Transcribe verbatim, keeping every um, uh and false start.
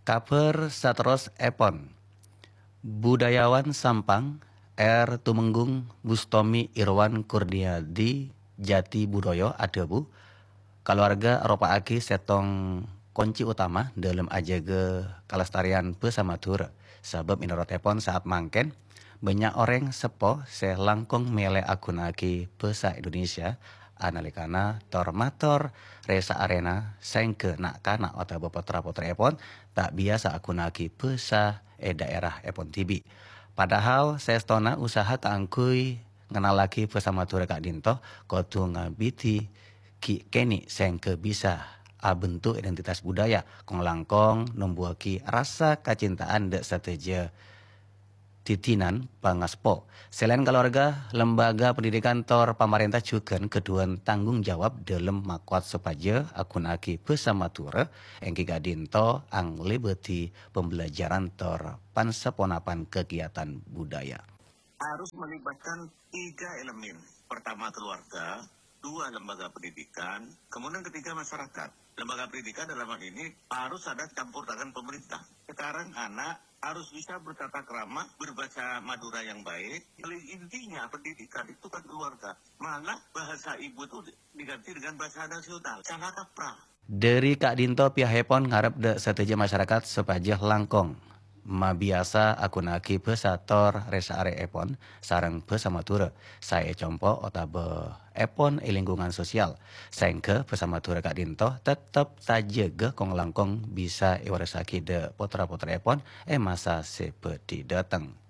Kabhâr saterrossèpon, budayawan Sampang, R. Tumenggung Bustomi Irwan Kurniadi Jati Budoyo adhâbu, kalowarga aropa'aghi sèttong konci otama dhâlem ajâgâ kalestarian bhâsa Madhurâ, sabâb mènorotèpon saat mangkèn bânnya' orèng seppo sè langkong mèlè aghunaaghi bhâsa Indonesia analèkana tor-mator rè-saarèna, saèngghâ na'-kana' otabâ potra-potrèèpon ta' biyasa aghunaaghi bhâsa è dhaèraèpon dhibi'. Padahal saèstona usaha kaangghuy ngennallaghi bhâsa Madhurâ ka'dhinto kodhu ngabidi ghi' kènè' saèngghâ bisa abentuk identitas budaya, kong-langkong nombuwaghi rasa kacintaan dâ' sadhâjâ didinan pangaspo. Selain kalowarga, lembaga pendidikan tor pamarènta jhughân ghâdhuwân tanggung jawab dhâlem makowat sopajâ aghunaaghi bhâsa Madhurâ, èngghi ka'dhinto anglèbâdhi pembelajaran tor pan-saponapan kegiatan budaya. Harus melibatkan tiga elemen. Pertama, keluarga, dua, lembaga pendidikan, kemudian ketiga, masyarakat. Lembaga pendidikan dalam hal ini harus ada campur tangan pemerintah. Sekarang anak harus bisa bertata krama, berbahasa Madura yang baik. Paling intinya pendidikan itu kan keluarga. Malah bahasa ibu itu diganti dengan bahasa nasional. Salah kaprah. Dhâri ka'dhinto pihakèpon ngarep dâ' sadhâjâ masyarakat sopajâ langkong mabiyasa aghunaaghi bhâsa tor rè-saarèèpon sareng bhâsa Madhurâ saè è compo' otabâ èpon è lingkungan sosial, saèngghâ bhâsa Madhurâ ka'dhinto tettep tajâgâ kong-langkong bisa èwarressaghi dâ' potra-potrèèpon è masa sè bhâdhi dâteng.